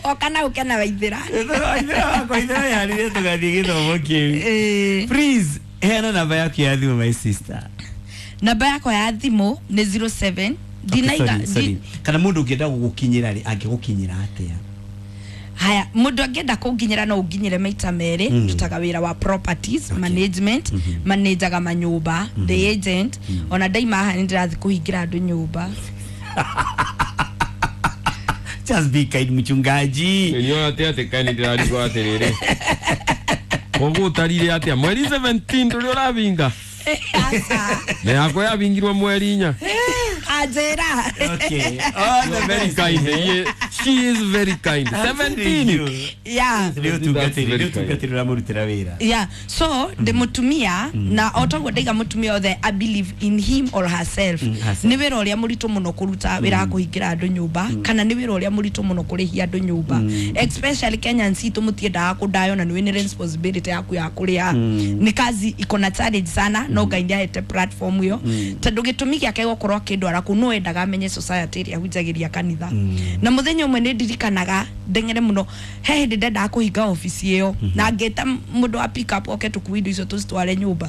Oka na ũke na Waithĩra. Waithĩra wakwa, Waithĩra yarire tũgathiĩ gĩthomo kĩu. Please, heana namba yaku ya thimũ, my sister. Namba yakwa ya thimũ nĩ 07 ndinaiga. Okay, sorry, sorry. Kana mũndũ ũngĩenda gũgũkinyĩra rĩ, angĩgũkinyĩra atĩa? Haya, mũndũ angĩenda kũnginyĩra no ũnginyĩre maita merĩ. Ndutaga wĩra wa properties management, manajaga manyũmba, the agent. Ona ndaima haha nĩ ndĩrathiĩ kũhingĩra andũ nyũmba. Just be kind mchungaji. Niliona atia atä kaä ndärarigwo atä rä rä koguo ũtarire atĩa mweri 17 ndũrĩ ũravinga na yakwa yavingirwo mweri inya. Anjĩra. Okay. All the Very best. kind. She is very kind. 17. Yeah. Nĩ ũtungatĩri ũramũrutĩra wĩra. Yeah, so ndĩ mũtumia na o toguo ndaiga mũtumia othe I believe in him or herself. Herself. Nĩ wĩra ũrĩa mũritũ mũno kũruta wĩra wa kũhingĩra andũ nyũmba kana nĩ wĩra ũrĩa mũritũ mũno kũrĩhia andũ nyũmba, especially Kenyans itũ mũtiendaga kũndaywo na nĩ wĩnĩ responsibility yaku ya kũrĩha. Nĩ kazi iko na challenge sana, no Ngai nĩahete platform ĩyo tondũ gĩtũmi gĩake gũkorwo akĩndwara kũu no endaga amenye society ĩrĩa ahunjagĩria kanitha. Na mũthenya ũmwe nĩ ndirikanaga ndeng'ere mũno, he hĩndĩ ndendaga kũhinga obici ĩyo na ngĩta mũndũ wa pick up oke tũkue indo icio tũcitware nyũmba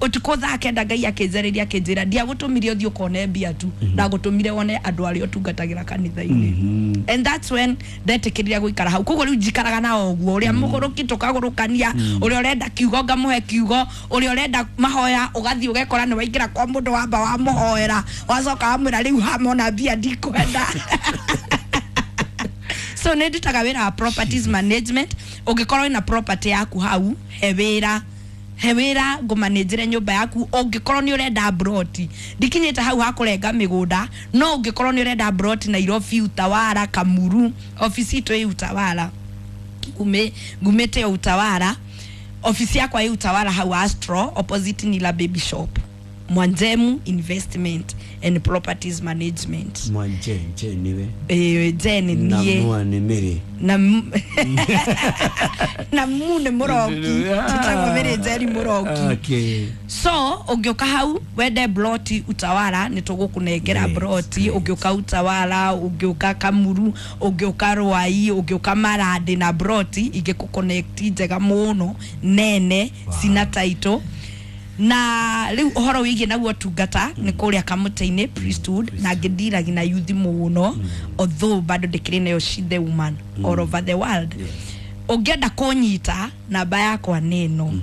ũtukũ thaa 9. Ngai akĩnjarĩria akĩnjĩra ndiagũtũmire ũthiĩ ũkone mbia tu, ndagũtũmire wone andũ arĩa ũtungatagĩra kanitha-inĩ. And that's when ndetĩkĩrire gũikara hau. Koguo rĩu njikaraga nao ũguo, ũrĩa mũgũrũki tũkagũrũkania, ũrĩa ũrenda kiugo ngamũhe kiugo, ũrĩa ũrenda mahoya ũgathiĩ ũgekora nĩ waingĩra kwa mũndũ wamba wamũhoera wacoka wamwĩra rĩu hamona mbia ndikwenda. So nĩ ndutaga wĩra wa properties management. Ũngĩkorwo wĩna property yaku hau, he wĩra, he wĩra ngũmanĩnjĩre nyũmba yaku. Ũngĩkorwo nĩ ũrenda broti, ndikinyĩte hau hakũrenga mĩgũnda, no ũngĩkorwo nĩ ũrenda broti Nairobi, Utawala, Kamuru, obici itũ ĩ Utawala, ngumĩte Utawala, obici yakwa ĩ Utawala hau Astro opposite Nila Baby Shop, Mwanjemu Investment and Properties Management. Mwanje nje niwe. Jen Na niĩ. mwa nĩ mĩrĩ. Na mu nĩ mũroki, njĩtagwo Mĩrĩ Njeri Mũroki. Okay. So ũngĩũka hau wende bloti Utawala, nĩ tũgũkũnengera bloti. Ũngĩũka Utawala, ũngĩũka Kamuru, ũngĩũka Rwai, ũngĩũka Marandĩ na bloti ingĩkũconnect njega mũno nene cina title. Na rĩu ũhoro wĩgiĩ naguo tungata nĩ kũrĩa kamũtĩ-inĩ priesthood na ngĩndiragi na youth mũno, although bado ndĩkĩrĩ nayo she the woman all over the world. Ũngĩenda kũnyita, namba yakwa nĩ ĩno,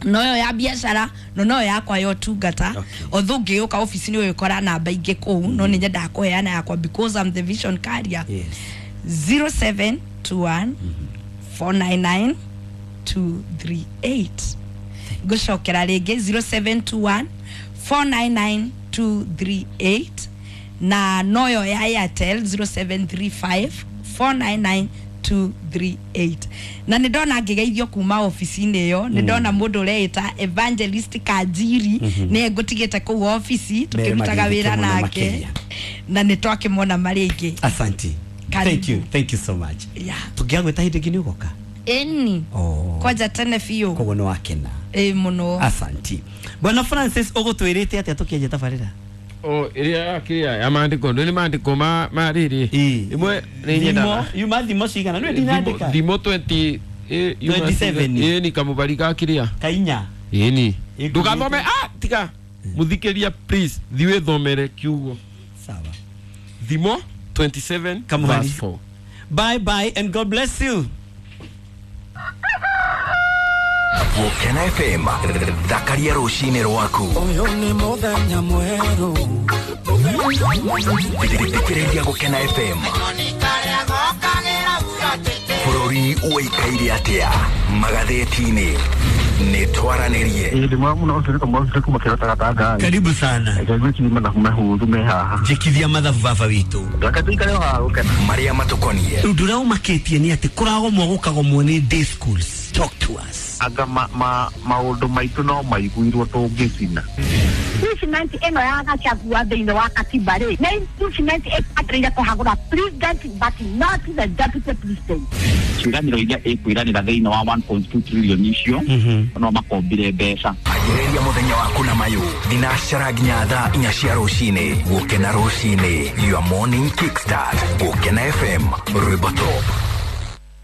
noyo ya biacara no noyo yakwa ya ũtungata. Although ngĩũka obici nĩ ũgĩkora namba ingĩ kũu, no nĩ nyendaga kũheana yakwa because I'm the vision carrier. 0721 499 238. Ngũcokera rĩngĩ, 0721 499 238, na noyo ya Airtel 0735 499 238. Na nĩ ndona ngĩgeithio kuma obici-inĩ ĩyo, nĩ ndona mũndũ ũreĩta Evangelist Kanjiri nĩye ngũtigĩte kũu obici tũkĩrutaga Mere wĩra magĩthike mũno nake makĩria. Na nĩ twakĩmona marĩ aingĩ. Asante. Karibu. Thank you. Thank you so much. Yeah. Tũngĩagwĩta hĩndĩ ĩngĩ nĩ ũgoka? Ĩni. Oh. Kwanja tene biũ. Koguo nĩ wakena. Ĩ mũno. Asanti. Bwana Francis, ũgũtwĩrĩte atĩa tũkĩanjia tabarĩra? O ĩrĩa yakĩrĩa ya maandĩko ndũ nĩ maandĩko ma rĩrĩ ĩmwe nĩ nyendaga. Thimo, yuma thimo cigana? Nĩwe ndinandĩka. Thimo 20 yuma 27. Ĩ ni kamũbari ga kĩrĩa. Kainya. Ĩni. Ĩkuĩte. Ndũgathome, ah, tiga mũthikĩria, please thiĩ wĩthomere kiugo. Sawa. Thimo 27 Kamũhari. verse 4. Bye bye and God bless you. Gũkena FM, thakaria rũcinĩ rwaku. Ũyũ nĩ mũthenya mwerũ. Thikĩrĩria Gũkena FM. Bũrũri ũikaire atĩa magathĩti-inĩ? Nĩ twaranĩrie. Ĩĩ ndĩ mwega mũno, ũcio nĩ kamwe kuma kĩrota gatanga. Karibu sana. Ngwĩciria mathabu mehũthũ me haha. Njĩkithia mathabu baba witũ. Reke tũikare o haha gũkena. Marĩa matũkonie. Ũndũ ũrĩa ũmakĩtie nĩ atĩ kũragomwo gũkagomwo nĩ day schools. Talk to us. Anga maũndũ maitũ no maiguirwo tũngĩcina. Impeachment ĩno ya Gachagua thĩinĩ wa katiba rĩ, nĩ impeachment ĩbataire kũhagũra president but not the deputy president. Ciĩranĩro iria ĩkwĩranĩra thĩinĩ wa 1.2 trillion icio no makombire mbeca. Anjĩrĩria mũthenya waku na mayũ thinacara nginya thaa 4 cia rũcinĩ. Gũkena rũcinĩ, your morning kickstart. Gũkena FM, rwĩmbo top.